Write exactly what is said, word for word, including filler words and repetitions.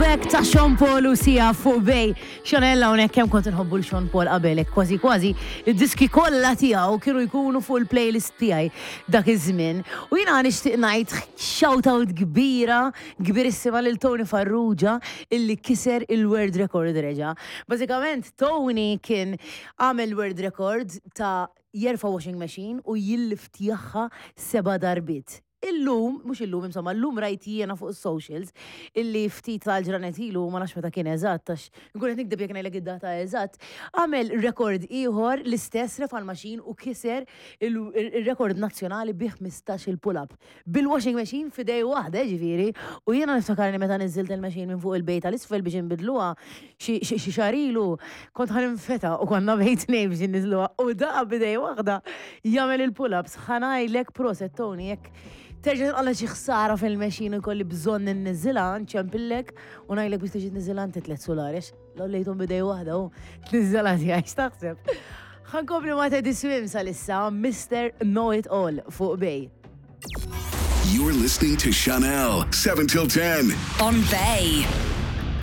Hekk ta' Sean Paul u Sia fuq Bay. Chanel hawnhekk. Kemm kont inħobbu 'l Sean Paul qabel, hekk kważi kważi id-diski kollha tiegħu kienu jkunu fuq il-playlist tiegħi dak iż-żmien. U jiena nixtieq ngħid shout out kbira, kbirissima lil Tony Farrugia, illi kiser il-world record reġa. Bażikament Tony kien għamel world record ta' jerfa' washing machine u jilliftjaha seba' darbiet. Illum, mhux illum, insomma, illum rajt jiena fuq socials illi ftit tal-ġranet ilu, ma nafx meta kien eżatt, għax nkun qed nikdeb jekk ngħidlek id-data eżatt, għamel rekord ieħor, l-istess, refa' l-machine u kiser il-rekord nazzjonali bi ħmistax il-pull-up. Bil-washing machine f'idej waħda, ġifieri, u jiena niftakarni meta niżilt il-machine minn fuq il-bejta l-isfel biex nbidluha xi xi xahar ilu, kont ħa ninfeta u konna bejt tnejn biex nniżluha u daqa b'idej waħda jagħmel il-pull-ups. Ħa ngħidlek proset, Tony. Jekk terġa' tqalla xi ħsara fil-machine u jkolli bżonn inniżilha, nċempillek u ngħidlek biex tiġi tniżilha inti tliet sulari, l-għollejthom b'idej waħda u tniżilha tiegħi, x'taħseb? Ħa nkompli ma' Teddy Swims għalissa, Mister Know It All fuq Bay. You're listening to Chanel seven till ten. On Bay.